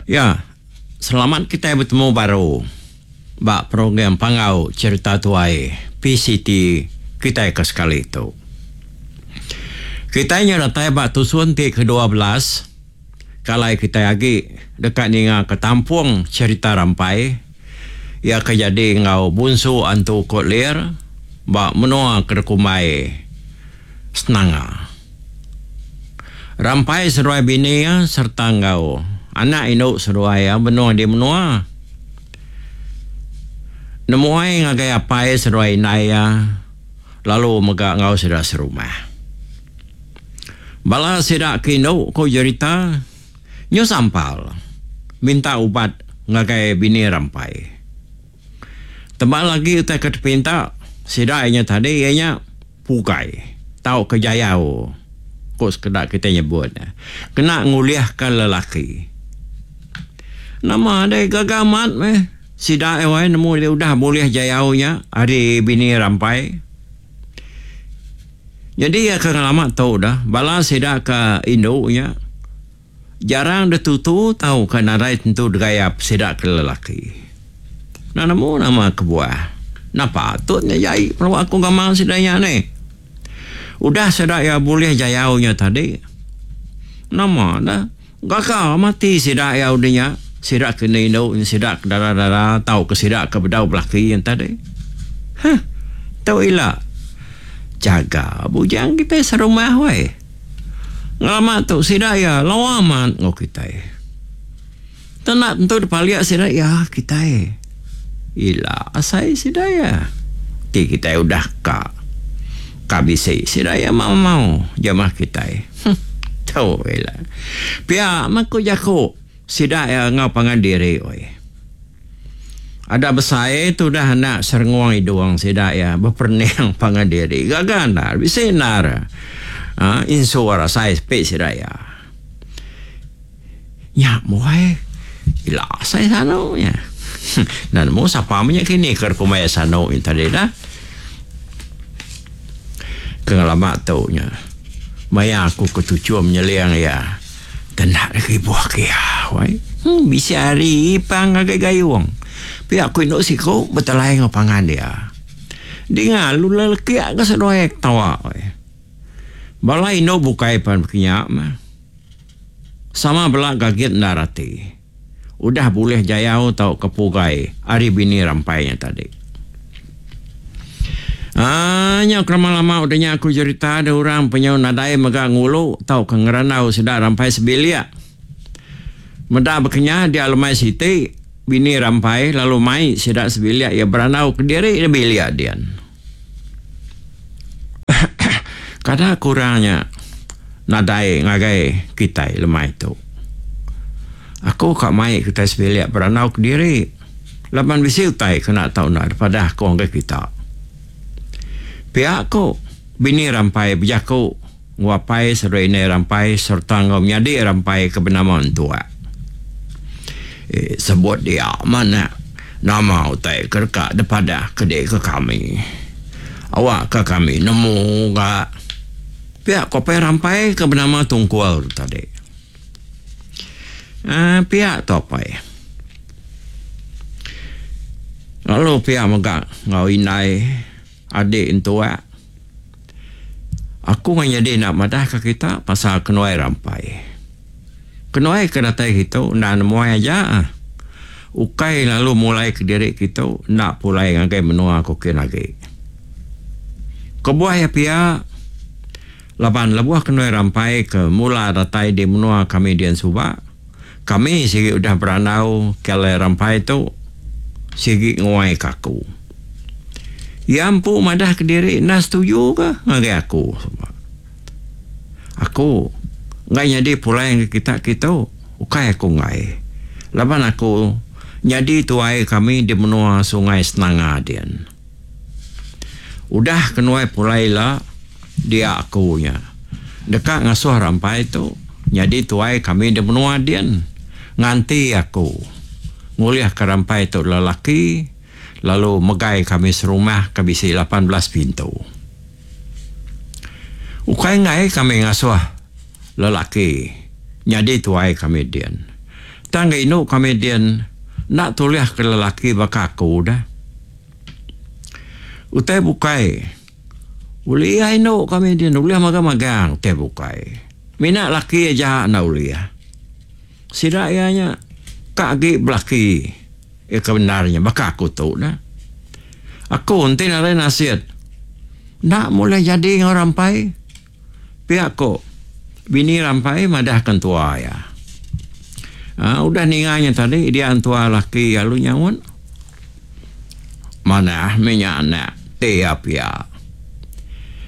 Ya, selamat kitai betemu baru ba program Panggau Cherita Tuai PCT kitai ke sekali tu. Kitai nya datai ba tusun ti ke-12 ke alai kitai agi deka ningaka tampung cherita rampai iya ke jadi enggau Bunsu Antu Kot Lir ba menua ke dikumbai Senanga. Rampai seduai bini iya sereta enggau anak indu seduai iya benung di menua. Nemuai ngagai apai seduai indai iya lalu mega enggau sida serumah. Bala sida ke indu ku jerita nyu sampal minta ubat ngagai bini Rampai. Tebal agi utai ke dipinta sida iya nya tadi iya nya pugai tauka jayau ku sekeda kitai nyebut ne kena ngulihka lelaki. Nama deh gaga amat meh sida iya wai nemu diri udah bulih jayau nya ari bini Rampai. Nyadi iya ke ngelama tu dah bala sida ke indu nya. Jarang ditutu tauka nadai tentu degayap sida ke lelaki. Enda nemu nama kebuah. Enda patut nya jai pelaba aku gamal sida nya nih. Udah sida iya bulih jayau nya tadi, nama dah gaga mati sida iya udah nya, sida ke enda indu sida ke dara-dara tauka sida ke bedau belaki nya tadi. Huh tu ila jaga bujang kitai serumah weh. Ngelama tu sida iya lawa amat enggau kitai. Tenda tentu dipalik sida iya kitai. Ila asai sida iya ti kitai udah ka ka bisi sida iya mau mau jamah kitai. Huh tu ila. Pia meh ku jaku sida iya enggau pangan diri oi. Ada besai tudah anak serengung idung sida iya beperening pangan diri. Gaga endar, bisi endar aaa insur asai sepi sida iya. Nya buai ila asai sanu nya. Enda nemu sapa meh nya kini ke kumbai sanu nya tadi dah. Ke ngelama tu nya maya aku ke tuchum nyeling iya. Kena deka ibuh ke iya wai. Hmm bisi hari ipang ngagai gayung. Pia ku indu siku betelai enggau pangan dia. Dinga lalu lelekik ga seduai ketawa wai. Bala indu bukai pan bekinya mah. Sama bela gagit endar ati. Udah bulih jayau tauka pugai ari bini rampai nya tadi. Aaa nya kelama-lama udah nya aku jerita deh orang penyau nadai mega ngulu tauka ngerandau sida rampai sebilik. Meda bekenya dia lemai siti, bini rampai lalu mai sida sebilik iya berandau kediri di bilik din. Kada kurang nya nadai ngagai kitai lemai tu. Aku ka mai kitai sebilik berandau kediri laban bisi utai kena tau enda dipadah aku ngagai kita. Pia ku bini Rampai bejaku enggau apai seduai indai Rampai sereta enggau menyadi Rampai ke benama Entuak. Eh sebut dia manah nama utai ke deka dipadah ke deka kami. Awakka kami nemu ga. Pia ku apai Rampai ke benama Tungkul tu tadi. Aaa pia tu apai. Lalu pia mega enggau indai adi entuak. Aku ngan nyadi enda madahka kita pasal kenuai rampai. Kenuai ke datai kitu enda nemuai aja. Ukai lalu mulai kediri kitu enda pulai ngagai menua ku kin agi. Kebuah iya pia laban lebuh kenuai rampai ke mula datai di menua kami dian suba, kami sigi udah berandau ke alai rampai tu sigi nguai ka aku. Iya empu madah kediri enda setuju ke ngagai aku suba. Aku enggai nyadi pulai ngagai kita kitu, ukai aku enggai. Laban aku nyadi tuai kami di menua Sungai Senanga din. Udah kenuai pulai ila dia aku nya deka ngasuh rampai tu nyadi tuai kami di menua din nganti aku ngulihka rampai tu lelaki. lalu megai kami serumah ke bisi 18 pintu. Ukai enggai kami ngasuh lelaki nyadi tuai kami din. Tang ga indu kami din enda tulih ke lelaki baka aku dah. Utai bukai ulih indu kami din ulih magang-magang utai bukai. Mina laki aja enda ulih. Sida iya nya ka agi belaki iya ke bendar nya baka aku tu dah. Aku enti nadai nasit enda meh ulih jadi enggau rampai pia ko bini rampai madah ke entua iya. Aa udah ninga nya tadi dia entua laki iya lalu nyaut manah meh nya anak ti iya pia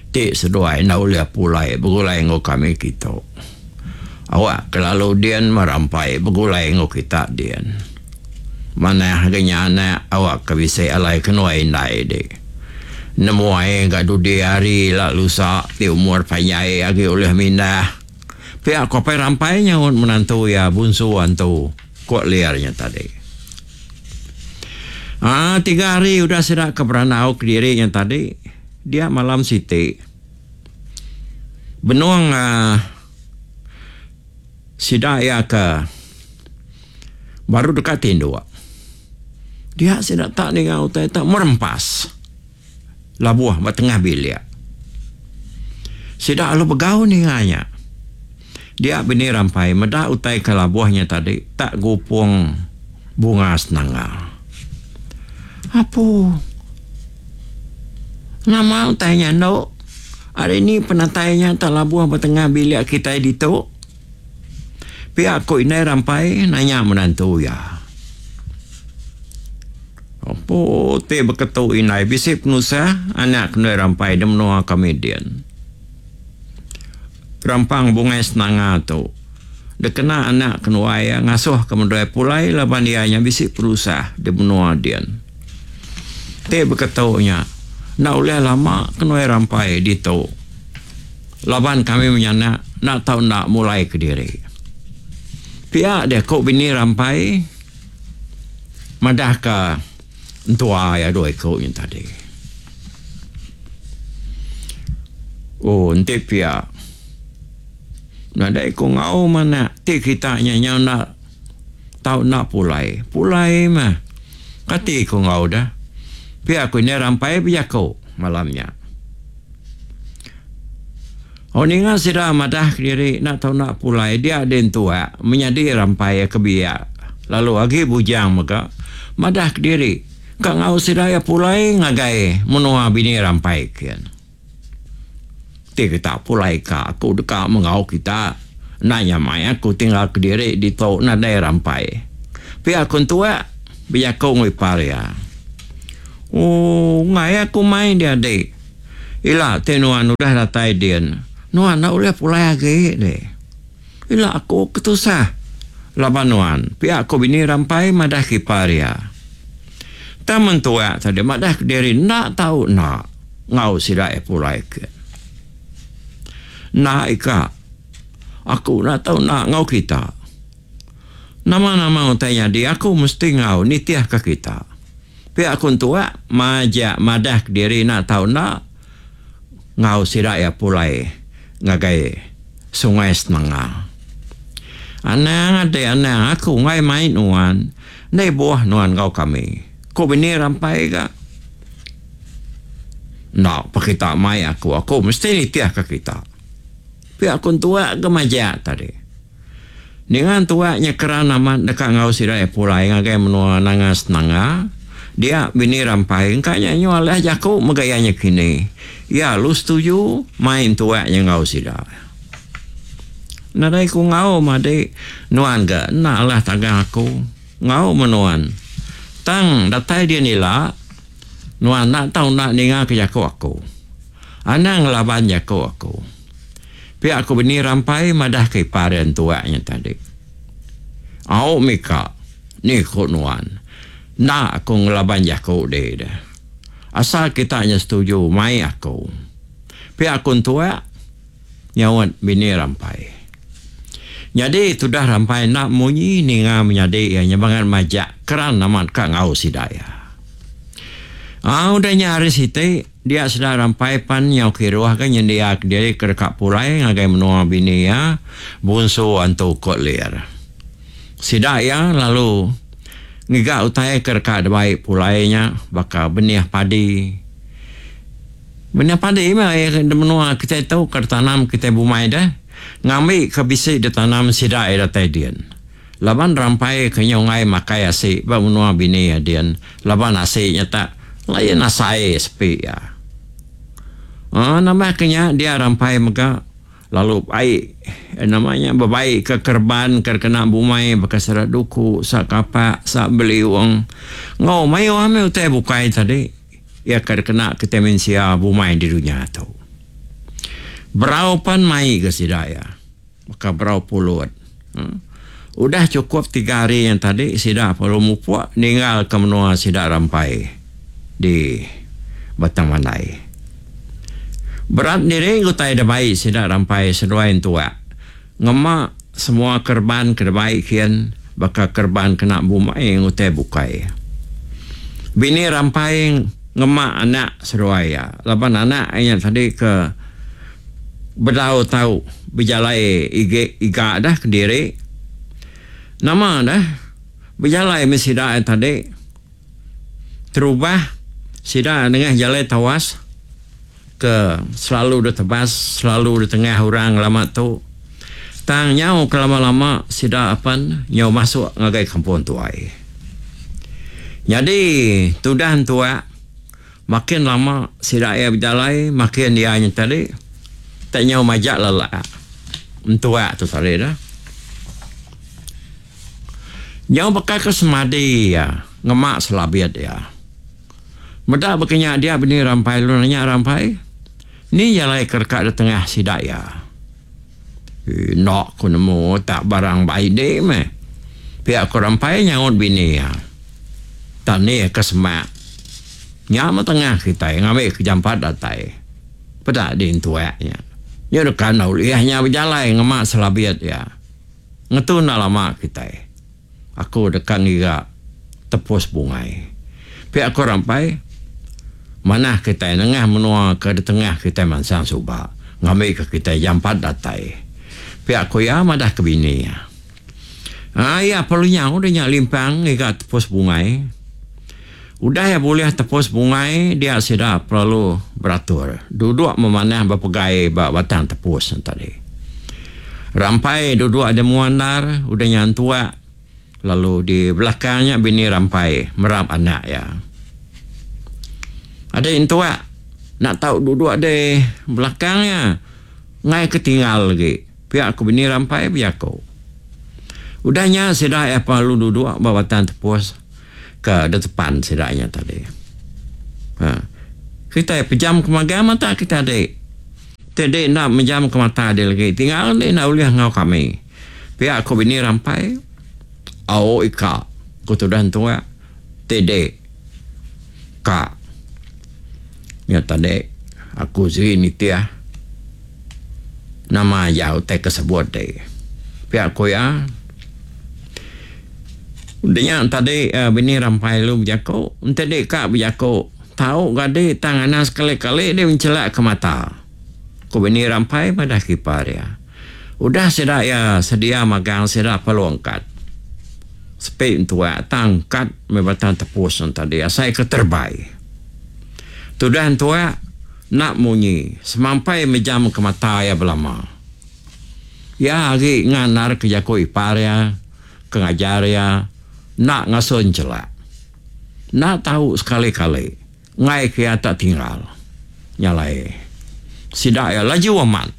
ti seduai enda ulih pulai begulai enggau kami kitu. Awak kelalu din merampai begulai enggau kita din. Manah ga nya anak awak ke bisi alai kenuai indai dik. Nemuai ga dudi hari ila lusa ti umur panjai agi ulih mindah. Pia ko Apai Rampai nyaut menantu iya Bunsu Antu ko Lir nya tadi. Aa tiga hari udah sida ke berandau kediri nya tadi dia malam siti. Benung sida iya ke baru deka tinduk dia sida tak ninga utai tak merempas labuh ba tengah bilik. Sida lalu begau ninga nya. Dia bini rampai meda utai ke labuh nya tadi tak gupung bunga senanga. Apu. Nama utai nya endo? Ari ni penatai nya tak labuh ba tengah bilik kitai ditu? Pia ku indai Rampai nanya menantu iya. Apu ti beketu indai bisi penusah anak kendui Rampai di menua kami din. Rampang Bungai Senanga tu dikena anak kenuai iya ngasuh ke medoi pulai laban iya nya bisi penusah di menua din. Ti beketu nya enda ulih lama kenuai rampai ditu laban kami menyanak enda tau enda mulai kediri. Pia deh ku bini rampai madahka entua iya dua iku nya tadi. Oh enti pia nadai ku enggau manak ti kita nya nyau enda tau enda pulai. Pulai mah kati ku enggau deh. Pia ku indai rampai bejaku malam nya. Oh ninga sida madah kediri enda tau enda pulai dia deh entua menyadi rampai ke biak lalu agi bujang mega madah kediri. Ka enggau sida iya pulai ngagai menua bini rampai kin. Ti kita pulai ka aku deka menggau kita enda nyamai aku tinggal kediri ditu nadai rampai. Pia ku entua bejaku enggau ipar iya. Ooh enggai aku mai dia dik. Ila ti nuan udah datai din nuan enda ulih pulai agi deh. Ila aku ketusah laban nuan, pia ku bini Rampai madah ke ipar iya. Tang mentua tadi madah kediri enda tau enda enggau sida iya pulai ke. Enda ika, aku enda tau enda enggau kita. Nama-nama utai nyadi aku mesti enggau nitihka kita. Pia ku entua majak madah kediri enda tau enda enggau sida iya pulai ngagai Sungai Senengah. Anang ati anang aku enggai mai nuan, enda ibuh nuan enggau kami, ku bini Rampai ga. Enda pa kita mai aku, aku mesti nitihka kita. Pia ku entua ga majak tadi. Ninga entua nya keran amat deka enggau sida iya pulai ngagai menua Nanga Senangga, dia bini Rampai engka nya nyu alih jaku mega iya nya kini. Iya lalu setuju mai entua nya enggau sida. Nadai ku enggau madi nuan ga enda alah tagang aku enggau meh nuan. Tang datai din ila nuan enda tau enda ninga ke jaku aku. Anang ngelaban jaku aku. Pia ku bini Rampai madah ke ipar iya entuak nya tadi. Au mika, ni ku nuan. Enda aku ngelaban jaku dih deh. Asal kita nya setuju mai aku. Pia ku entuak nyaut bini Rampai. Nyadi tudah Rampai enda munyi ninga menyadi iya nya bangat majak keran amat ka enggau sida iya. Au udah nya hari siti. Dia sida Rampai pan nyau kiruh ga nyendia kediri ke deka pulai ngagai menua bini iya Bunsu Antu Kot Lir. Sida iya lalu ngiga utai ke deka dibai pulai nya baka benih padi. Benih padi meh di menua kitai tu ke ditanam kitai bumai deh ngambi ke bisi ditanam sida iya datai din. Laban rampai ke nyau enggai makai asi ba menua bini iya din laban asi nya tak lain asai sepi iya. Aaa nambah ke nya dia rampai mega lalu ai nama nya bebai ke kereban ke kena bumai baka sida duku, sa kapak, sa beliung enggau mayuh meh utai bukai tadi iya ke dikena kitai mensia bumai di dunya tu. Berau pan mai ga sida iya. Baka berau pulut. Udah chukup tiga hari nya tadi sida perlu mupuk ninggalka menua sida rampai di Batang Mandai. Berat diri utai da bai sida rampai seduai entuak ngema semua kereban ke dibai kin baka kereban kena bumai enggau utai bukai. Bini rampai ngema anak seduai iya laban anak iya tadi ke Bedau tau bejalai igi iga dah kediri. Nama dah bejalai meh sida iya tadi. Terubah sida nengah jalai tawas ke selalu ditebas selalu ditengah orang lama tu. Tang nyau ke lama-lama sida apan nyau masuk ngagai kampung tuai. Nyadi tudah entuak. Makin lama sida iya bejalai makin iya nya tadi tak nyau majak lelak entuak tu tadi dah. Nyau baka ke semadi iya ngema selabit iya. Meda baka nya dia bini Rampai lalu nanya Rampai, Ni jalai ke deka ditengah sida iya? Enda ku nemu tak barang bai di meh. Pia ku Rampai nyaut bini iya. Tak nih ke semak. Nya meh tengah kitai ngambi ke jampat datai. Peda di entuak nya. Nya deka enda ulih nya bejalai ngema selabit iya. Ngetu enda lama kitai. Aku deka ngiga tepus bungai. Pia ku Rampai, manah kitai nengah menua ke ditengah kitai mansang suba ngambika kitai jampat datai. Pia ku iya madah ke bini iya. Aa iya perlu nyau deh nya limpang ngiga tepus bungai. Udah iya bulih tepus bungai dia sida perlu beratur duduk memanah bepegai ba batang tepus ne tadi. Rampai duduk di mua endar udah nya entuak lalu di belakang nya bini Rampai merap anak iya. Adi entuak enda tau duduk di belakang iya enggai ke tinggal agi pia ku bini Rampai bejaku. Udah nya sida iya perlu duduk ba batang tepus ke detepan sida nya tadi. Ha. Kitai pejam ke magang mata kitai adi. Ti adi enda mejam ke mata adi lagi tinggal adi enda ulih enggau kami. Pia ku bini Rampai, Au ika, ku tudah entua, ti di ka. Nya tadi aku sigi nitih nama aja utai ke sebut ti. Pia ku iya. Udah nya tadi bini Rampai lalu bejaku, enti di ka bejaku tau ga di tang anang sekali-kali di menchelak ke mata. Ku bini Rampai madah ke ipar iya. Udah sida iya sedia magang sida perlu angkat. Sepi entuak tang angkat meh batang tepus ne tadi asai ke terebai. Tudah entuak enda munyi semampai mejam ke mata iya belama. Iya agi ngandar ke jaku ipar iya ke ngajar iya enda ngasuh enchelak. Enda tau sekali-kali enggai ke iya tak tinggal. Nya alai sida iya laju amat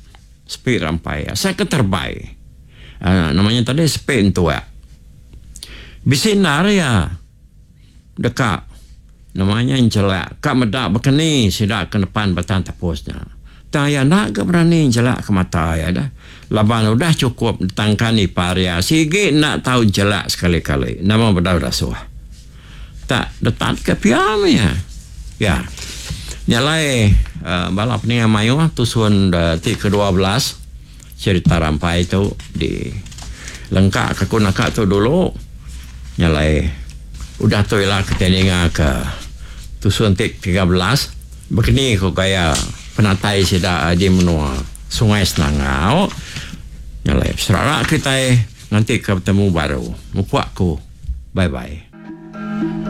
sepi rampai asai ke terebai. Aaa nama nya tadi sepi entuak. Bisi endar iya deka nama nya enchelak ka meda baka ni sida ke nepan batang tepus nya. Tang iya enda ga berani enchelak ke mata iya deh laban udah chukup ditangkan ipar iya sigi enda tau enchelak sekali-kali nama bedau dasuh. Tak detat ke pia meh iya. Ya. Nya alai uhh bala peninga mayuh tusun ti ke 12 cherita rampai tu di lengka ke aku naka tu dulu. Nya alai udah tu ila kitai ninga ke tusun ti 13 bekeni ku gaya penatai sida di menua Sungai Senangau. Nya alai beserara kitai. Nganti ke betemu baru. Mupuk aku. Bye bye.